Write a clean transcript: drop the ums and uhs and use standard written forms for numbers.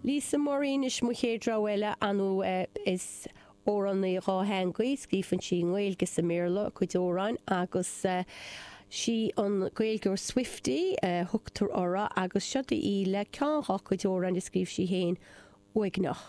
Lisa Murray anois mo chéad rogha eile, ar ndóigh is amhránaí dhátheangaí, scríobhann sí i nGaeilge is i mBéarla a cuid amhráin agus sí an Gaeilgeoir Swiftie a thugtar uirthi agus seo í le ceann dhá cuid amhráin a scríobh sí féin, Uaigneach.